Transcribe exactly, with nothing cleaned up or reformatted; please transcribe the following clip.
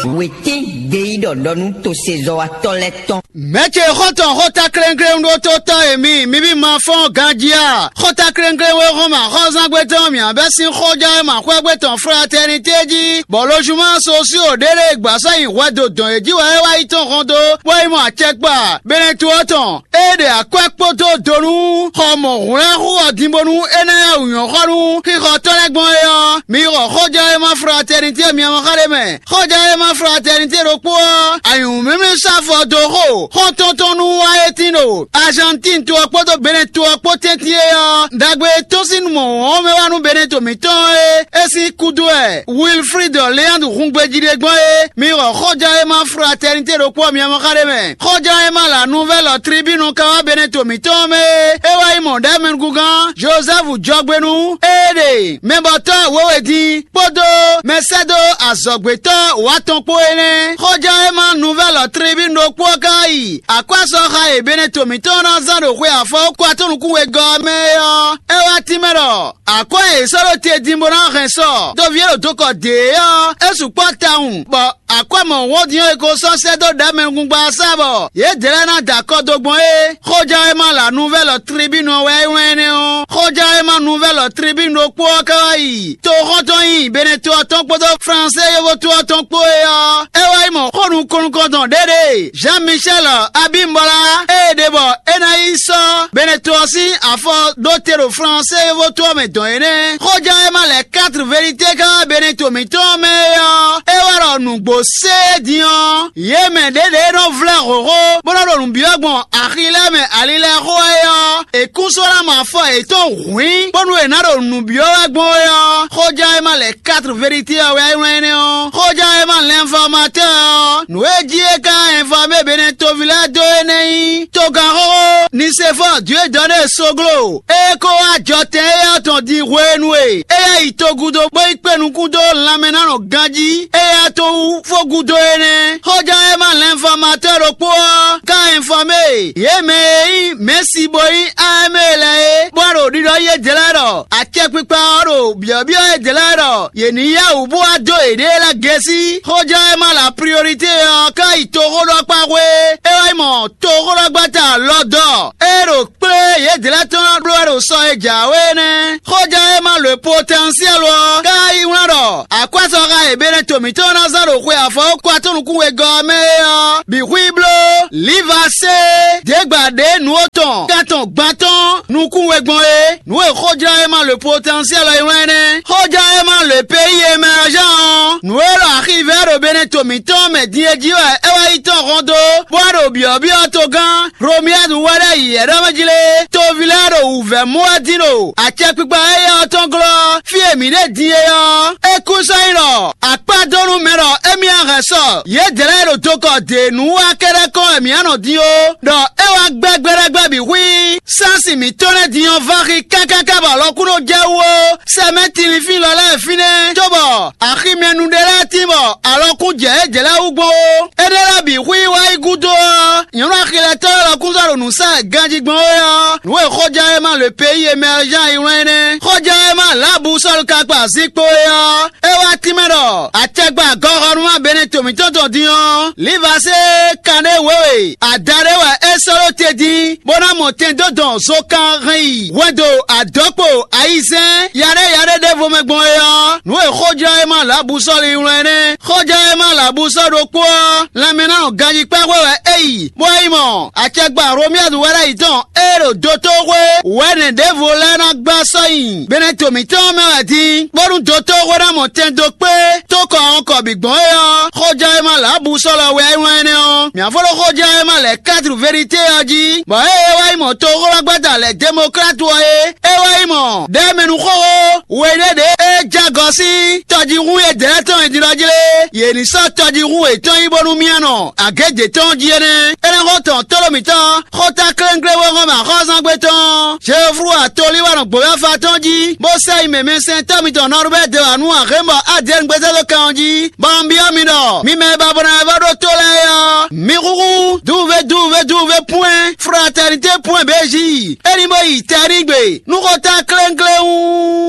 Wětín gbeyíɖɔ ɖɔ nú tosezɔ́watɔ́ lɛ́ɛ tɔn. Mɛ̌ ce xɔ́ntɔn xóta klɛ́nklɛ́n ɖótótɔ́ e mi, mi bí ma fɔ́n ganjí a? Xóta klɛ́nklɛ́n wé hɔn mɛ axɔ́zángbé tɔn mǐ abɛ́ sín xójá e ma xwɛ́gbé tɔn fratɛnité jí, bɔ lojuma sosío ɖé ɖé gbǎ sɔ́ nyi hwɛ dó dɔn yě jí wɛ é wá yi tɔn hɔn dó, bó yi mɔ acɛkpa Benɛtu ɔ́ tɔn. Ée ɖe akwɛ́ kpódó do nú xɔ mɔ̌hwlɛ́nxú ɔ́ din bónú é ná yá wǔ nyɔ́ xɔ nú xixɔtɔ́ lɛ́ɛ gbɔn é ɔ́, mi xɔ xójɛ́wéma fratɛnitɛ́ miamɔ́ xá ɖé mɛ. Xójɛ́wéma fratɛnitɛ́ ɖokpó ɔ́, anyǔmímí sɔ́ afɔ dó xo xɔ́ntɔn tɔn nú wá é tín ɖo Azantín to ɔ́ kpódó Benɛ́ to ɔ́ kpó tɛ́ntin é ɔ́, ɖagbe e tɔ́n sín mɔ̌ wɔn mɛ wá nú Benɛ́ to mǐtɔn ɔ́ é, é sín kúdú wɛ Wilfrid Leandre hun gbejí ɖe gbɔn é. Mi xɔ xójɛ́wéma fratɛnitɛ́ ɖokpó ɔ́ miamɔ́ xá ɖé mɛ. Xóján e ma la nuvɛ́lɔ tribínu ka wá Benɛto mǐtɔn mɛ é, é wá yi mɔ ɖɛ̌mɛnugúngán Jozɛ́fu jɔgbénu, ée ɖe mɛbɔtɔ́ wěwe din kpódó mɛsɛ́dó azɔ̌gbětɔ́ wǎ tɔn kpó é nɛ́. Xóján e ma nuvɛ́lɔ tribínu ɖokpó ɔ́ ka yi akwásɔxa e Benɛto mǐtɔn ná zán ɖo xwe afɔwúkɔ atɔ́nukún wegɔ́ ɔ́ mɛ é ɔ́, é wá tínmɛ ɖɔ akwɛ́ e è sɔ́ ɖó te din bó ná hɛn sɔ toví e ɖo dokɔ dě é ɔ́, é sukpɔ́ tawun, bɔ akwɛ́ mɔ̌hunhɔ́n din ɔ́ è ko sɔ́ sɛ́ dó ɖɛ̌mɛnukúngban ɔ́ sá bɔ yědɛɛ lɛ́ɛ ná da akɔ dó gbɔn é. Xóján e ma la nuvɛ́lɔ tribínu ɔ́ wɛ é wlán énɛ́ ɔ́. Xóján e ma nuvɛ́lɔ tribínu ɖokpó ɔ́ ká wá yi toxɔ́ntɔn nyi Benɛto ɔ́ tɔn kpódó Flansée yovóto ɔ́ tɔn kpó é ɔ́, é wá yi mɔ xó nukɔn nukɔntɔn ɖě ɖe Jean Michel Abímbɔlá, ée ɖe bɔ é ná yi sɔ́ Benɛto ɔ́ sín afɔ ɖó te ɖo Flansée yovóto ɔ́ mɛ dɔn é nɛ́. Xóján e ma lɛ quatre vérité ká Benɛto mǐtɔn mɛ é ɔ́, é wá ɖɔ nǔgbó sé din ɔ́, yě mɛ ɖěɖě nɔ vlɛ́ hlǒhló, bó nɔ́ ɖo nǔ byɔ́ gbɔn axi lɛ́ɛ mɛ ali lɛ́ɛ xó wɛ é ɔ́, è kún sɔ́ ná mɔ afɔ yětɔn hwǐn, bónú è nǎ ɖo nǔ byɔ́ wɛ gbɔn é ɔ́, xóján e ma lɛ quatre vérité ɔ́ wɛ é wlán énɛ́ ɔ́. Xóján e ma lɛnfɔmatɛ́ ɔ́, nǔ e jí é ka ɛnfamé Benɛtoví lɛ́ɛ dó é nɛ́ nyí togán xóxó Nisefɔ́ɔ Dǐwedɔ́née Soglo, é kó wá jɔtɛn éyɛ́ tɔn din hwenu e éyɛ́ yi togudo bó yi kpé nukún dó lanmɛ ná nɔ ganjí éyɛ́ tɔn wú fó gúdo é nɛ́. Xóján e ma lɛnfɔmatɔ́ ɖokpó ɔ́ ka ɛnfamé yě mɛ e nyí Mɛ̌si bó nyí Amɛ́ɛ lɛ́ɛ é, bó wá ɖo ɖiɖɔ yí édɛ́ lɛ́ɛ ɖɔ acɛkpikpa ɔ́ ɖo byɔ̌byɔ́ édɛ́ lɛ́ɛ ɖɔ yě ní yá wǔ bó wá dó yěɖée lɛ́ɛ gɛ́sí. Xóján e ma la priorité ɔ́ ka yi toxóɖɔkpá xwé, é wá yi mɔ toxóɖɔgbáta lɔ dɔ, é ɖo kplé yědɛ́ lɛ́ɛ tɔn ná bló wɛ ɖo sɔ e jǎwe é nɛ́. Xóján e ma lo potɛnsiɛlu ɔ́ ka yi wlán ɖɔ akwásɔxa e Benɛto mǐtɔn ná zán ɖo xwe afɔwúkɔ atɔ́nukún wegɔ́ ɔ́ mɛ é ɔ́ bǐ xwí bló Livasée ɖěgbà ɖě nǔ atɔn kántɔn gban tɔn nukún we gbɔn é. Nǔ e xójlán e ma lo potɛnsiɛlu ɔ́ yi wlán é nɛ́. Xójlán e ma lo péyi e mɛ ɔ́ zán ɔ́, nǔ e ɖo axivɛ ɖo Benɛto mǐtɔn mɛ din é jí wɛ é wá yi tɔn hɔn dó, bó wá ɖo byɔ̌byɔ́ togán Hlomyadu wɛ ɖo yiyɛ̌ɖɔmɛjlé, toví lɛ́ɛ ɖo wǔvɛ́ mɔ wɛ dín ɖo acɛkpikpa éyɛ́ ɔ́ tɔn glɔ́. Fí e mǐ ɖe din é ɔ́, é kú sɔ́ nyí ɖɔ akpá dó nú mɛ ɖɔ émí ná hɛn sɔ yědɛɛ lɛ́ɛ ɖo dokɔ dě nú wá kɛ́ɖɛ́ kɔn wɛ mǐ ná nɔ din ó, ɖɔ é wá gbɛ́ gbɛɖɛgbɛ bǐ xwí. Sási mǐtɔn lɛ́ɛ din ɔ́ vá xi kákáká bɔ alɔkúnɔ jɛ wú ó. Sɛmɛ́ tinlifín lɔ lɛ́ɛ fínɛ́, cóbɔ aximɛnu ɖé lɛ́ɛ tín bɔ alɔkún jɛ yě jɛ lɛ́ɛ wú gbɔn ó. Énɛ́ lɛ́ɛ bǐ xwí wá yi gúdo ɔ́, nyɔ̌nu axilɛtɔ́ lɛ́ɛ lɔ kún zɔ ɖo nǔ sa ganjí gbɔn é ɔ́, nǔ e xɔján e ma le peyi e mɛ ɔ́ zán yi wlán é nɛ́. Xɔján e ma lǎbǔ Sɔ́lu ka kpa zinkpo é ɔ́, é wá tínmɛ ɖɔ acɛgba gɔxɔnúmá Benɛto mǐtɔn tɔn din ɔ́, Livasée kanɖé wěwe ada ɖé wɛ é sɔ́ ɖó te din, bó ná mɔ tɛn dó dɔn zokan hɛn yi hwɛndo adɔ̌kpo ayizɛ́n yaɖé yaɖé ɖěvo mɛ gbɔn é ɔ́, nǔ e xójlɔ́ e ma lǎbǔ Sɔ́lu yi wlán é nɛ́. Xójlɔ́ e ma lǎbǔ Sɔ́lu ɖokpó ɔ́, lanmɛ ná nɔ ganjí kpɛ́ xwé wɛ é yi, bó yi mɔ acɛgba Hlomyadu wɛ ɖ'ayǐ tɔn e ɖo dotóxwé wɛ̌nɛ ɖěvo lɛ́ɛ ná gbá sɔ́ nyi Benɛto mǐtɔn mɛ wɛ din, bónú dotóxwé ná mɔ tɛn dó kpé tó kɔ ɔ́nkɔ bǐ gbɔn é ɔ́, xóján e ma lě abú sɔ́ lɔ wɛ é wlán énɛ́ ɔ́. Mǐ ná fó ɖó xóján e ma lɛ̌ kátru verité ɔ́ jí, bɔ ée é wá yi mɔ toxóɖɔgbɛ́ta lɛ̌ demoklátu ɔ́ é, é wá yi mɔ ɖɛ̌mɛnu xóxó we ɖé ɖě é jɛ agɔ sín tɔjíhún e dɛ̌ tɔn e din ɔ́ jlé, yě ní sɔ́ tɔjíhún yětɔn yi bónú mì nɔ agě d'é tɔn jí énɛ́. Énɛ́ xó tɔn tóɖó mǐtɔn, xóta klénkléwóhɔn mɛ axɔ́zángbé tɔn, Jeoflu atolíwánɔ gbǒyɔ́fa tɔn jí, bó sɛ yi mɛmɛsɛntɔ́ mitɔn Nɔrubɛ́ de wǎ nú axě bɔ Adɛ́ɛn gbézé dó kan ɔ́ jí, bɔ un byɔ́ mi ɖɔ mi mɛ e ba bɔ ná wɛ vɔ́ ɖó tó lɛ́ɛ é ɔ́, mi húhú dúvúvé dúvúvé dúvúvé pwɛ́n fratɛnité pwɛ́n bějí, é ní bó yi tɛnígbe nú xóta klénkléwún.